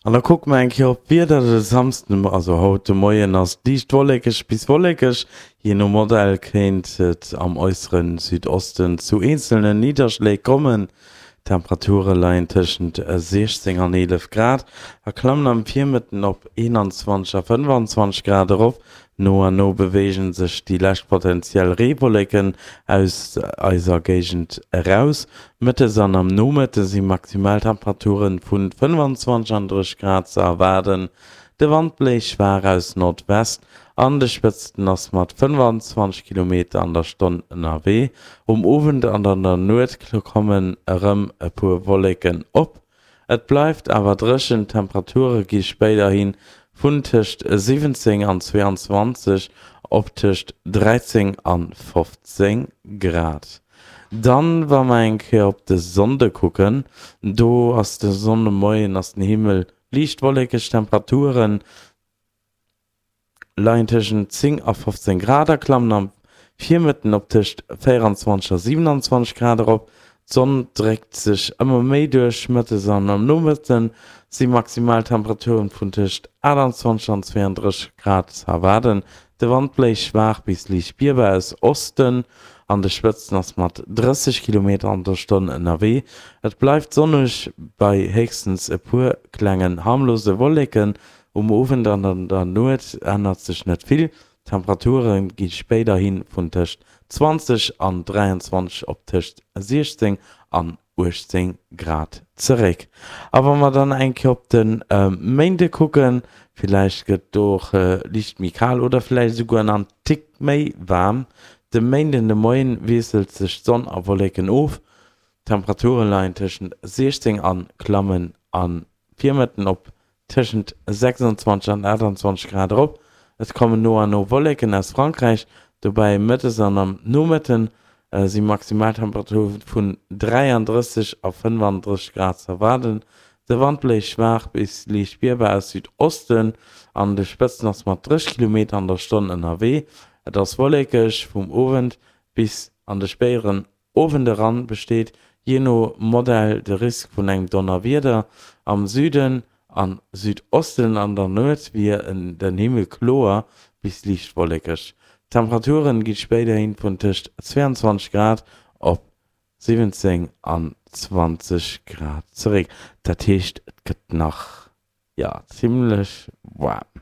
An da kucke mer eng Kéier op d'Wieder. De Samsden, also haut de Moien, ass et liicht wollekeg bis wollekeg. Jee no Modell kéint et am äussere Südosten zu eenzelne Nidderschléi kommen. D'Temperature leien tëschent 16 an 11 Grad a klammen am Virmëtten op 21 a 25 Grad erop. No an no beweege sech déi lescht potenziell Reewolleken aus eiser Géigend eraus. Mëttes an am Nomëtte si Maximaltemperature vu 25 an 30 Grad ze erwaarden. De Wand bléist schwaach aus Nordwest, an de Spëtzten ass mat 25 Kilometer an der Stonn ënnerwee. Um Owend an an der Nuet kommen erëm e puer Wolleken op. Et bleift awer dréchen, d'Temperature gi spéiderhi vun tëscht 17 an 22 op tëscht 13 an 15 Grad. Dann, wa mer eng Kéier op de Sonnde kucken, do ass de Sonndemoien ass den Himmel liicht wollekeg, d'Temperaturen leien tëschent 10 a 15 Grad a klammen am Virmëtten op tëscht 24 a 27 Grad erop. D'Sonn dréckt sech ëmmer méi duerch, mëttes an am Nomëtte si Maximaltemperaturen vun tëscht 28 an 32 Grad ze erwaarden. De Wand bléist schwaach bis liicht spierbar aus Osten, an de Spëtzen ass mat 30 Kilometer an der Stonn ënnerwee. Et bleift sonneg bei héchstens e puer klengen harmlose Wolleken. Um Owend an an der Nuet ännert sech net vill, d'Temperature gi spéiderhi vun tëscht 20 an 23 op tëscht 16 an 18 Grad zeréck. A wa mer dann eng Kéier op de Méinde kucken, villäicht gëtt do och liicht méi kal oder villäicht esouguer en Tick méi waarm. De Méinden de Moien wiesselt sech d'Sonn a Wolleken of, d'Temperature leien tëschent 16 an klammen am Virmëtten op tëschent 26 an 28 Grad erop. Et kommen no an no Wolleken aus Frankräich dobäi. Mëttes an am Nomëtte si Maximaltemperature vun 33 a 35 Grad ze erwaarden. De Wand bléist schwaach bis liicht spierbar aus Südosten, an de Spëtzen ass mat 30 Kilometer an der Stonn ënnerwee. Et ass wollekeg vum Owend bis an de spéideren Owend eran besteet jee no Modell de Risk vun engem Donnerwieder. Am Süden an Südosten an der Nuet wier den Himmel kloer bis liicht wollekeg. D'Temperaturen gi spéiderhin vun tëscht 22 Grad op 17 an 20 Grad zeréck. Dat heescht et gëtt nach, jo, zimmlech waarm.